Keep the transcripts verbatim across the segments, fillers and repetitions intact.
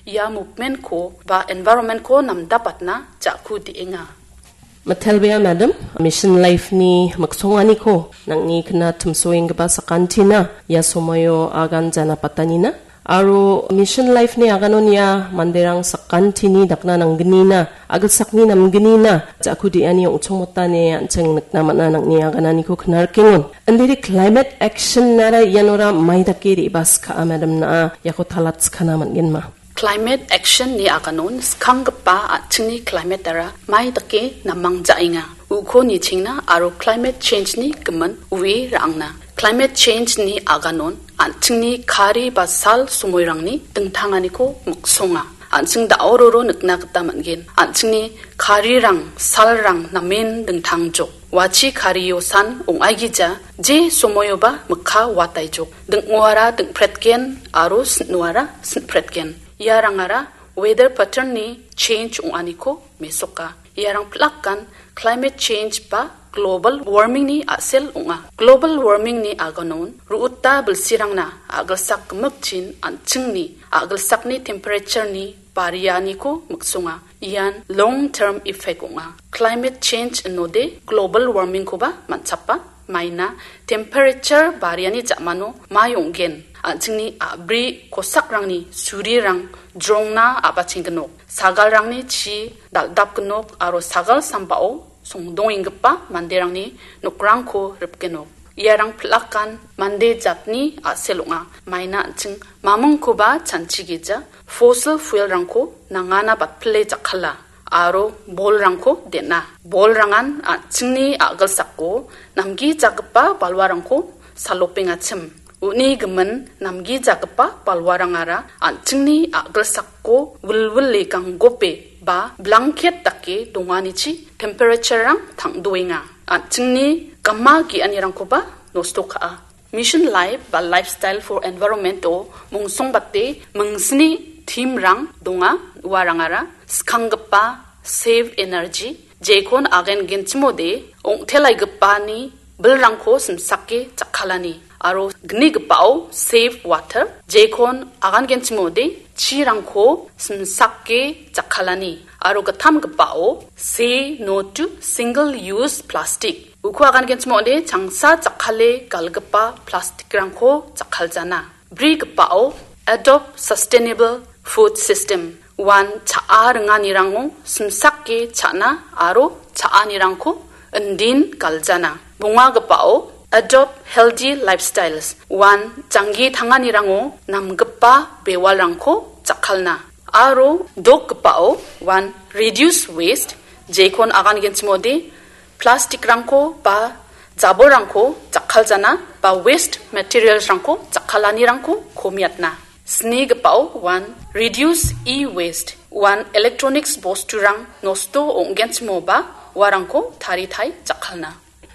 ia movement-ko ba environment-ko namdapatna ja·ku de·enga. Mitelbea madam, Mission Life-ni miksonganiko nangni kna timsoenggipa sakantina ia somoio agan janapatanina. Aro Mission Life-ni aganon ia manderang sakantini dakna nanggnina, agilsakni namgnina, ja·ku de·ani ong·chongmotani an·ching nikna man·a nangni agananiko knarkengon. Indiri climate action-ara ianora mai dake re·baska·a madam na·a, iako talatskana man·genma. Climate action-ni aganon skanggipa an·chingni climate-ara mai dake namang ja·enga. Uko nichengna aro climate change-ni gimin ue ra·angna. Climate change-ni aganon an·chingni kari ba sal somoirangni dingtanganiko miksonga. An·ching da·ororo nikna gita man·gen. An·chingni karirang, salrang namen dingtangjok. Wachi kario san ong·aigija, je somoioba mikka wataijok. Ding·oara ding·pretgen aro sin·oara sin·pretgen. Iarangara weather pattern-ni change ong·aniko mesoka. Iarang pilakan climate change ba global warming-ni a·sel ong·a. Global warming-ni aganon ru·uta bilsirangna a·gilsak gimikchin an·chingni a·gilsakni temperature-ni barianiko miksonga. Ian long term effect ong·a. Climate change inode global warming-koba man·chapa. Maina temperature bariani ja·mano mai ong·gen. An·chingni a·bri kosakrangni surirang jrongna a·bachenggnok. Sagalrangni chi dal·dapgnok aro sagal sambao songdongenggipa manderangni nokrangko ripgenok. Iarang pilakan mande jatni a·sel ong·a. Maina an·ching mamingkoba chanchigija fossil fuel-rangko nangana batpile jakkala aro bolrangko den·a. Bolrangan an·chingni a·gilsako namgijagipa balwarangko salopengachim. Uni gimin namgijagipa balwarangara an·chingni a·gilsako wilwile ganggope ba blanket dake donganichi temperature-rang tangdoenga. An·chingni gama ge·anirangkoba nosto ka·a. Mission Life ba Lifestyle for Environment-o mongsongbate mingsni theme-rang donga. Uarangara skanggipa Save Energy, jekon agangenchimode ong·telaigipani bilrangko simsake jakkalani. Aro gnigipao Save Water, jekon agangenchimode chirangko simsake jakkalani. Aro gittamgipao Say No to Single Use Plastic. Uko agangenchimode changsa jakkale galgipa plastic-rangko jakkaljana. Brigipao Adopt Sustainable Food System. Uan cha·a ringanirango simsake cha·na aro cha·anirangko indin galjana. Bongagipao Adopt Healthy Lifestyles. Uan janggi tanganirango namgipa bewalrangko jakkalna. Aro dokgipao uan Reduce Waste, jekon agangenchimode plastic-rangko ba jabolrangko jakkaljana ba waste materials-rangko jakkalanirangko komiatna. Snigipao uan Reduce E-Waste, uan electronics bosturang nosto ong·genchimoba uarangko taritai jakkalna.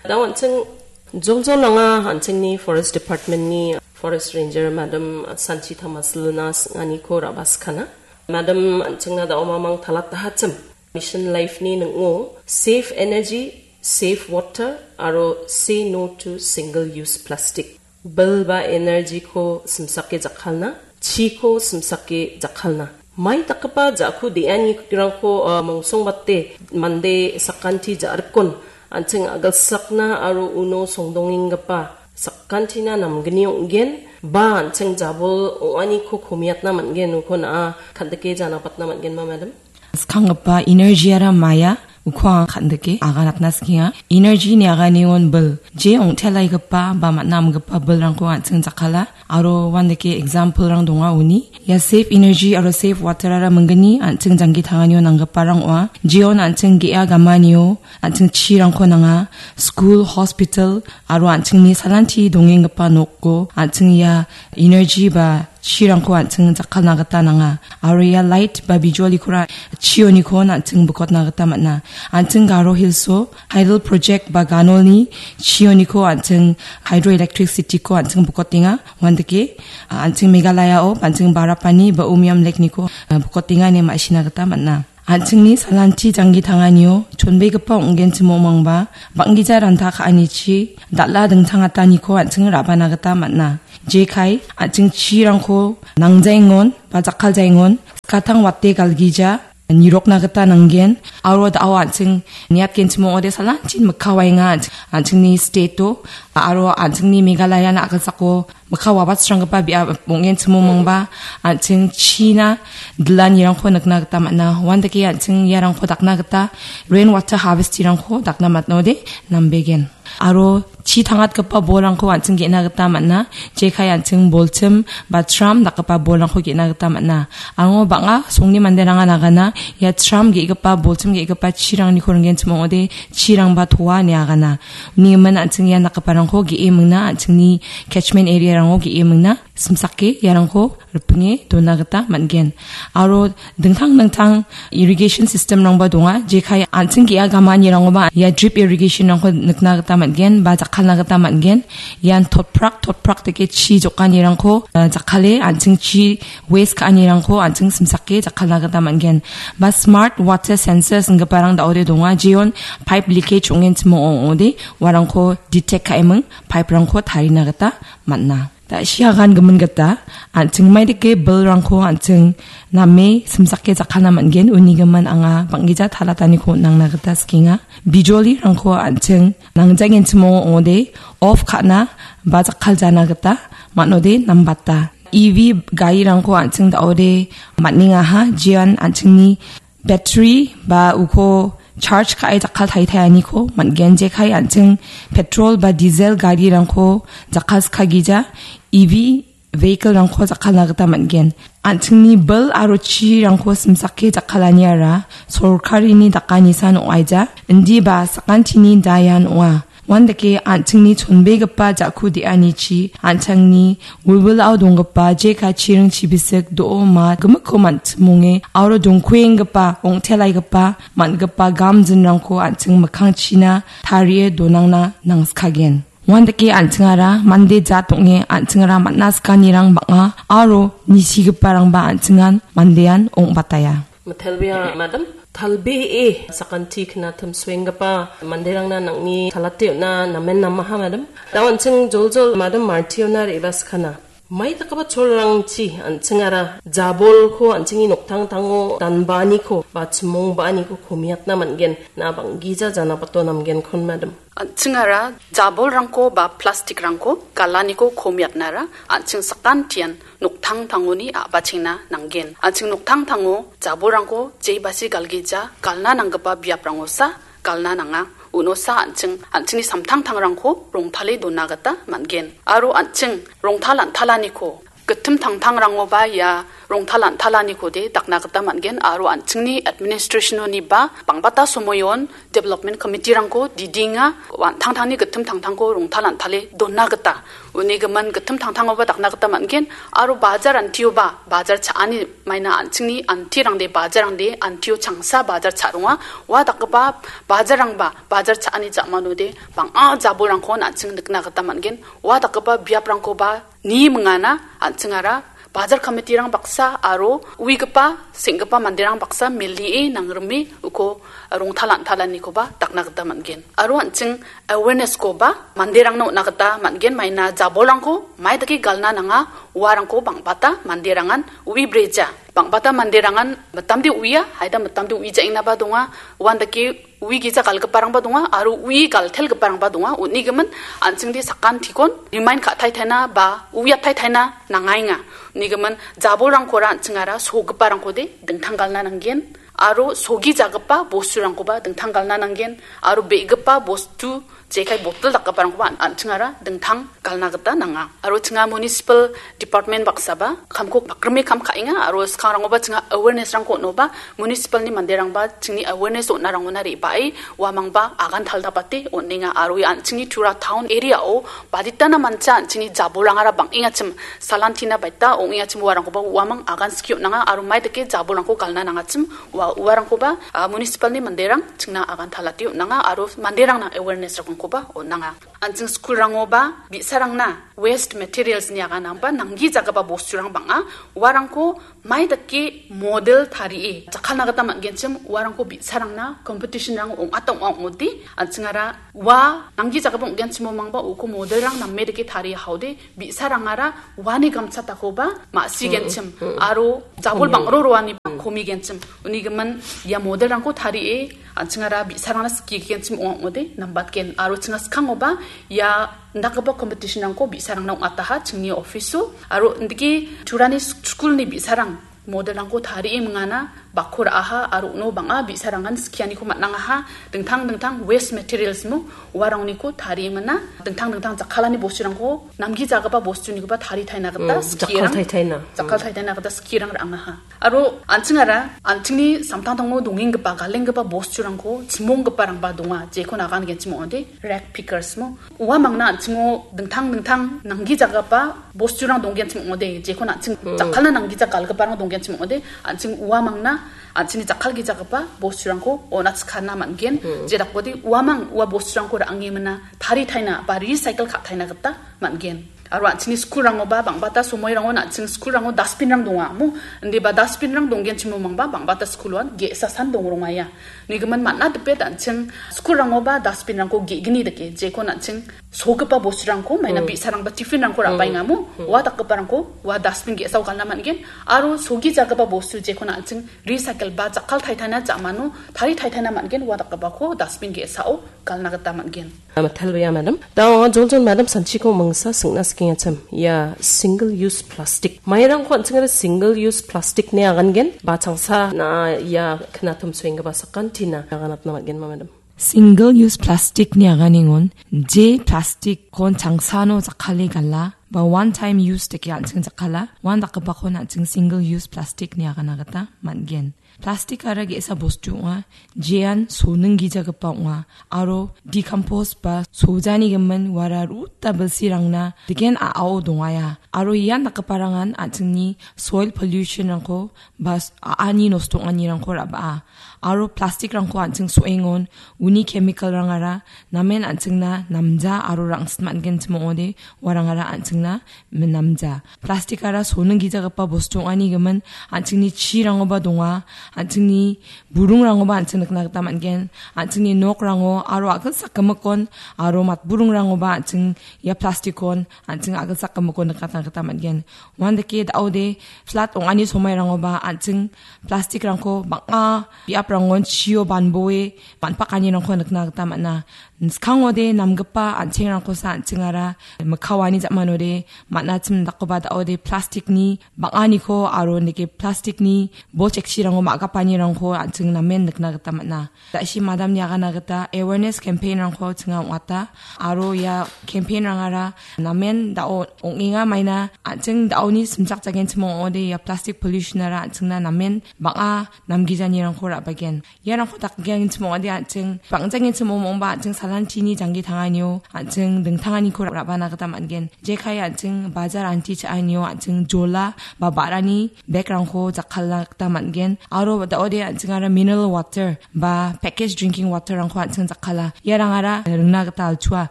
Da an·ching joljol anga an·chingni Forest Department-ni Forest Ranger Madam Sanchi Tamasilna sing·aniko ra·baskana. Madam an·chingna da·o mamang talatahachim. Mission Life-ni ning·o Save Energy, Save Water aro Say No to Single Use Plastic. Bil ba energy-ko simsake jakkalna, chiko simsake jakkalna. Mai dakgipa ja·ku de·anirangko, ah, mongsongbate mande sakanti ja·rikon an·ching a·gilsakna aro uno songdongenggipa sakantina namgni ong·gen ba an·ching jabol ong·aniko komiatna man·gen uko na·a kan·dike janapatna man·genma, madam? Skanggipa energy-ara maia, uko anga kan·dike aganatna sikenga. Energy-ni aganion bil, je ong·telaigipa ba man·a amgipa bilrangko an·ching jakkala. Aro uandake example-rang donga uni. Ia Save Energy aro Save Water-ara minggni an·ching janggi tanganio nanggiparang ong·a. Jeon an·ching ge·a gamanio, an·ching chirangko nanga. School, hospital, aro an·chingni salanti dongenggipa noko an·ching ia energy ba chirangko an·ching jakkalna gita nanga. Aro ia light ba bijolikora chioniko an·ching bikotna gita man·a. An·ching Garo Hills-o hydel project ba ganolni chioniko an·ching hydroelectricity-ko an·ching bikotenga. Uandake, a, an·ching Meghalaya-o an·ching Barapani ba Umiam Lake-niko, a, bikotenga ine ma·sina gita man·a. An·chingni salanti janggi tanganio chonbegipa ong·genchim ong·mangba bang·gija ranta ka·anichi dal·a dingtangataniko an·ching ra·bana gita man·a. Jekai an·ching chirangko nangjaengon ba jakkaljaengon gatang wate galgija nirokna gita nanggen. Aro da·o an·ching niatgenchim ong·ode salanchin mikkawaenga an·, an·chingni state-o, aro an·chingni Meghalaya na·gilsako mikka wabatsranggipa biap ong·genchim ong·mangba an·ching china dilanirangko nikna gita man·a. Uandake an·ching iarangko dakna gita rain water harvestirangko dakna man·ode nambegen. Aro chi tangatgipa bolrangko an·ching ge·na gita man·a. Jekai an·ching bolchim ba tram dakgipa bolrangko ge·na gita man·a. Aro bang·a songni manderangan agana ia tram ge·gipa, bolchim ge·gipa chirangniko ringgenchim ong·ode chirangba toa ine agana. Uni gimin an·ching ian dakgiparangko ge·e mingna, an·chingni catchment area-rango ge·e mingna, simsake iarangko ripinge dona gita man·gen. Aro dingtang dingtang irrigation system-rangba donga, jekai an·ching ge·a gamanirangoba ia drip irrigation-rangko nikna gita man·gen ba jakkalna gita man·gen. Ian totprak totprak dake chi jokanirangko, eh, jakkale an·ching chi waste ka·anirangko an·ching simsake jakkalna gita man·gen. Ba smart water sensors inggiparang da·ode donga, jeon pipe leakage ong·enchim ong·ode uarangko detect ka·eming, pipe-rangko tarina gita man·a. Da·siagan gimin gita, an·ching maidake bilrangko an·ching name simsake jakkalna man·gen, uni gimin anga bang·gija talataniko on·angna gita sikenga. Bijolirangko an·ching nangjangenchim ong·ode off ka·na ba jakkaljana gita man·ode nambata. E V garirangko an·ching da·ode man·engaha, jean an·chingni battery ba uko charge ka·e jakkal taitaianiko man·gen, jekai an·ching petrol ba diesel garirangko jakkalskagija E V vehicle-rangko jakkalna gita man·gen. An·chingni bil aro chirangko simsake jakkalaniara sorkarini dakanisan ong·aija. Indiba sakantini dayan ong·a. Uandake an·chingni chonbegipa ja·ku de·anichi an·changni wilwilao donggipa jeka chiring chibisik do·o ma gimikko man·chimonge aro dongkuenggipa ong·telaigipa man·gipa gamjinrangko an·ching mikkangchina tarie donangna nangskagen. Uandake an·chingara mande jat ong·e an·chingara man·a sikanirang bang·a aro nisigiparangba an·chingan mandean ong·bataia. Mitelbea, madam, talbee sakanti knatim suenggipa manderangna nang·ni salate on·a namen namaha, madam. Da an·ching joljol madam Martiona re·baskana. Mai dakgipa cholrangchi an·chingara jabolko an·chingni noktangtango danbaaniko ba chimongbaaniko komiatna man·gen, na bang·gija janabato namgenkon, madam. An·chingara jabolrangko ba plastikrangko galaniko komiatnara an·ching sakantian noktangtangoni a·bachengna nanggen. An·ching noktangtango jabolrangko jebasi galgija galna nanggipa biaprangosa galna nanga. Unosa an·ching, an·chingni samtangtangrangko rongtale dona gita man·gen. Aro an·ching rongtal an·talaniko gittim tangtangrangoba ia rongtal an·talanikode dakna gita man·gen aro an·chingni administration-oniba bang·bata somoion development committee-rangko didinga, an·tangtangni gittim tangtangko rongtal an·tale dona gita. Uni gimin gittim tangtangoba dakna gita man·gen aro bajar antioba, bajar cha·ani maina an·chingni antirangde, bajarrangde antio changsa bajar cha·ronga. Ua dakgipa bajarrangba, bajar cha·ani ja·manode bang·a jabolrangkon an·ching nikna gita man·gen. Ua dakgipa biaprangkoba ni mingana an·chingara bajar committee-rang baksa aro uigipa, seng·gipa manderang baksa melie nangrime uko rongtal an·talanikoba dakna gita man·gen. Aro an·ching awareness-koba manderangna on·na gita man·gen, maina jabolrangko mai dake galna nanga, uarangko bang·bata manderangan ui breja. Bang·bata manderangan mitamde uia, haida mitamde uijaengnaba donga, uandake ui gija galgiparangba donga aro ui galtelgiparangba donga. Unigimin an·chingde sakantikon remind ka·taitaina ba uiataitaina nangaenga. Unigimin jabolrangkora an·chingara sogiparangkode dingtang galna nanggen aro sogijagipa bosturangkoba dingtang galna nanggen aro be·gipa bostu jekai botel dakgiparangkoba an-, an·chingara dingtang galna gita nanga. Aro chinga municipal department baksaba kamko bakrime kam ka·enga aro skangrangoba chinga awareness-rangko on·oba municipal-ni manderangba chingni awareness on·arangona re·bae uamangba agan taldapate on·enga aro ia an·chingni Tura town area-o baditana mancha an·chingni jabolrangara bang·engachim salantina baita ong·engachim uarangkoba uamang agan skie on·anga aro mai dake jabolrangko galna nangachim ua Uarangkoba, ah, municipalni manderang chingna agan talate on·anga aro manderangna awareness rokongkoba on·anga. An·ching skulrangoba bi·sarangna waste materials-ni aganangba nanggijagipa bosturang bang·a. Uarangko mai dake model tarie jakkalna gita man·genchim, uarangko bi·sarangna competition-rang ong·ata ong·a ong·ode, an·chingara ua nanggijagipa ong·genchimo mangba uko model-rang name dake tarie haode, bi·sarangara uani gamchatakoba ma·sigenchim, aro jabol bang·ro roaniba komigenchim. Unigimin ia model-rangko tarie an·chingara bi·sarangna skigenchim ong·a ong·ode nambatgen. Aro chinga skangoba ia indakgipa competition-rangko bi·sarangna ong·ataha chingni office-o. Aro indake Turani sk-, skulni bi·sarang model-rangko tarie mingana bakko ra·aha aro uno bang·a bi·sarangan skianiko man·angaha. Dingtang dingtang waste materials-mo uarangniko tarie mina. Dingtang dingtang jakkalani bosturangko namgijagipa bostunikoba taritaina gita skiran-, jakkal taitaina. Jakkal taitaina gita skirang ra·angaha. Aro an·chingara, an·chingni samtangtango dongenggipa, galenggipa bosturangko chimonggiparangba donga, jeko nagan genchim ong·ode, rag pickers-mo. Ua mangna an·chingo dingtang dingtang nanggijagipa bosturang donggenchim ong·ode, jekon an·ching jakkalna nanggija galgiparang donggenchim ong·ode, an·ching ua mangna an·chingni jakkalgijagipa bosturangko on·atskana man·gen, jedakode uamang ua bosturangko ra·ange mina taritaina ba recycle ka·taina gita man·gen. Aro an·chingni skulrangoba bang·bata somoirangon an·ching skulrango dustbin-rang donga, mo? Indiba dustbin-rang donggenchimo mangba bang·bata skuloan ge·sa san dongrongaia. Nigimin man·a dipet an·ching skulrangoba dustbin-rangko ge·gni dake, jekon an·ching sogipa bosturangko maina bi·sarangba tiffin-rangko ra·baenga, mo? Ua dakgiparangko ua dustbin ge·sao galna man·gen. Aro sogijagipa bostu jekon an·ching recycle ba jakkal taitaina ja·mano tari taitaina man·gen, ua dakgipako dustbin ge·sao galna gita man·gen. Mitalbea, madam. Da anga joljol madam sanchiko mangsa singna sikengachim. Ia single use plastic. Mairangko an·chingara single use plastic-ni agangen ba changsa na ia knatum suenggipa sakantina aganatna man·genma, madam? Single use plastic-ni aganengon je plastic-kon changsano jakkale gala ba one time use dake an·ching jakkala, uan dakgipakon an·ching single use plastic-ni agana gita man·gen. Plastikara ge·sa bostu ong·a, jean soninggijagipa ong·a, aro decompose ba sojani gimin uara ruta bilsirangna digen a·ao dongaia. Aro ian dakgiparangan an·chingni soil pollution-rangko ba s-, a·ani nosto ong·anirangko ra·baa. Aro plastikrangko an·ching so·engon, uni chemical-rangara namen an·chingna namja aro rangsit man·genchim ong·ode, uarangara an·chingna minamja. Plastikara soninggijagipa bostu ong·ani gimin, an·chingni chirangoba donga, an·chingni burungrangoba an·ching nikna gita man·gen, an·chingni nokrango aro a·gilsak gimikkon aro matburungrangoba an·ching ia plastikkon an·ching a·gilsak gimikkon nikatna gita man·gen. Uandake da·ode flat ong·ani somairangoba an·ching plastikrangko bang·a biaprangon chio banboe man·pakanirangko nikna gita man·a. Skangode namgipa an·chengrangkosa an·chingara mikkaoani ja·manode man·achim dakgipa da·ode plastikni bang·aniko aro neke plastikni bol chekchirango ma·gapanirangko an·ching namen nikna gita man·a. Da·si madamni agana gita awareness campaign-rangko chinga ong·ata aro ia campaign-rangara namen da·o ong·enga maina an·ching da·oni simchakjagenchim ong·ode ia plastic pollution-ara an·chingna namen bang·a namgijanirangko ra·bagen. Iarangko dakgiangenchim ong·ode an·ching bang·jagenchim ong·ongba an·ching salantini janggi tanganio an·ching dingtanganiko ra·bana gita man·gen. Jekai an·ching bajar anti cha·anio an·ching jola ba ba·rani bag-rangko jakkalna gita man·gen. Aro da·ode an·chingara mineral water ba package drinking water-rangko an·ching jakkala. Iarangara ringna gita alchua.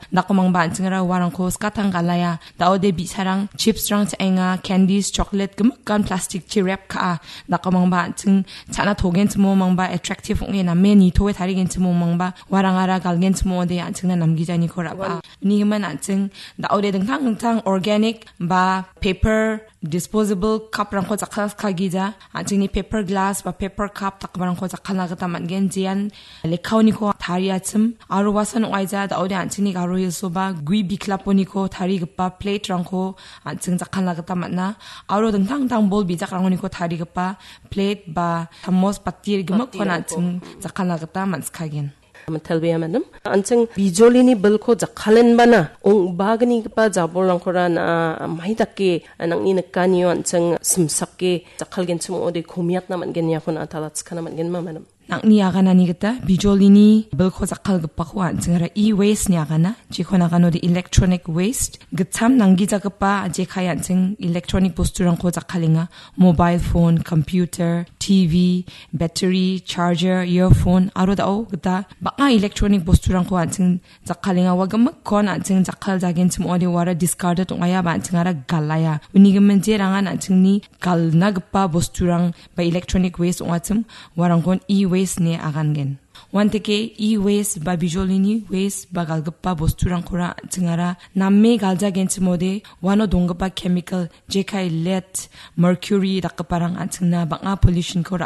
Dakgimangba an·chingara uarangko skatang galaia. Da·ode bi·sarang chips-rang cha·enga, candies, chocolate, gimikan plastic-chi wrap ka·a. Dakgimangba an·ching cha·na togenchimo mangba attractive ong·e name nitoe tarigenchimo mangba uarangara galgenchimo ong·ode an·chingna namgijaniko ra·baa. Uni gimin an·ching da·ode dingtang dingtang organic ba paper disposable cup-rangko jakkalskagija, an·chingni paper glass ba paper cup dakgiparangko jakkalna gita man·gen, jean lekkaoniko tariachim, aro uasan ong·aija da·ode an·chingni Garo Hills-oba gue biklaponiko tarigipa plate-rangko an·ching jakkalna gita man·a, aro dingtang dingtang bol bijakrangoniko tarigipa plate ba chamos, bati gimikkon an·ching jakkalna gita man·sikagen. Mitalbea, madam. An·ching bijolini bilko jakkalenbana ong·bagnigipa jabolrangkora na mai dake nang·ni nikanio an·ching simsake jakkalgenchim ong·ode komiatna man·gen iako na·a talatskana man·genma, madam? Nang·ni aganani gita bijolini bilko jakkalgipako an·chingara e-waste-ni agana, jekon aganode electronic waste, gitcham nanggijagipa jekai an·ching electronic bosturangko jakkalenga, mobile phone, computer, T V, battery, charger, earphone, aro dao gita bang·a electronic bosturangko an·ching jakkalenga. Ua gimikkon an·ching jakkaljagenchim ong·ode uara discarded ong·aia ba an·chingara galaia. Uni gimin jerangan an·chingni galnagipa bosturang ba electronic waste ong·achim, uarangkon e-waste ine agangen. Uanteke e-waste ba bijolini waste ba galgipa bosturangkora an·chingara name galjagenchimode uano donggipa chemical jekai lead, mercury dakgiparang an·chingna bang·a pollutionko